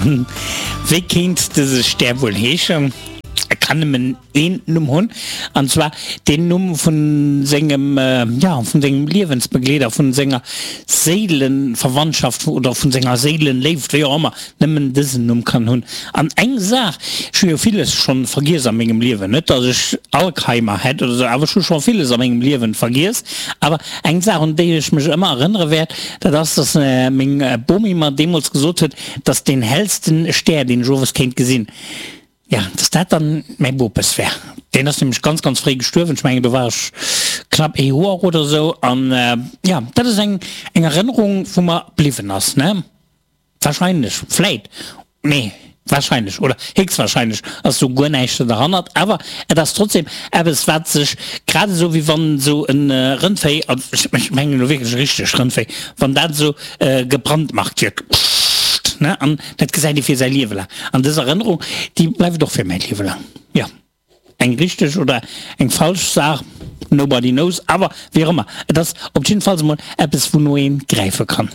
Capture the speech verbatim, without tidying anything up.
Wéi kéint dëse Stär wuel heeschen? E kann nëmmen een Numm hunn, an zwar deen Numm vu sengem, jo, vun sengem Liewensbegleeder, vun senger Séilenverwandschaft oder vun senger Séilenléift, wéi och ëmmer, nëmmen dësen Numm kann hunn. An eng Saach, ech hu jo villes schonn vergiess a mengem Liewen, net datt ech Alzheimer hätt oder esou, awer ech hu scho villes a mengem Liewen vergiess, awer eng Saach un déi ech mech ëmmer erënnere wäert, dat ass, datt meng Bomi mer deemools gesot huet, dass deen hellsten Stär deen ech owes kéint gesinn, jo, dass dat dann mäi Bopes wär. Deen ass nämlech ganz ganz fréi gestuerwen, ech mengen do war ech knapp ee Joer oder esou an jo, dat ass eng eng Erënnerung wou mer bliwwen ass, ne? Wahrscheinlech, vläit, nee, wahrscheinlech oder héchstwahrscheinlech ass do guer näischt derhannert, awer et ass trotzdem eppes wat sech, grad esou wéi wann esou e Rëndvéi, ech mengen elo wierklech e richtegt Rëndvéi, wann dat esou gebrandmarkt gëtt, pssst, ne, an dat gesäit ee fir säi Liewe laang. An dës Erënnerung, déi bleift och fir mäi Liewe laang. Jo, eng richteg oder eng falsch Saach, nobody knows, awer wéi och ëmmer, et ass op jiddefalls emol eppes wouno ee gräife kann.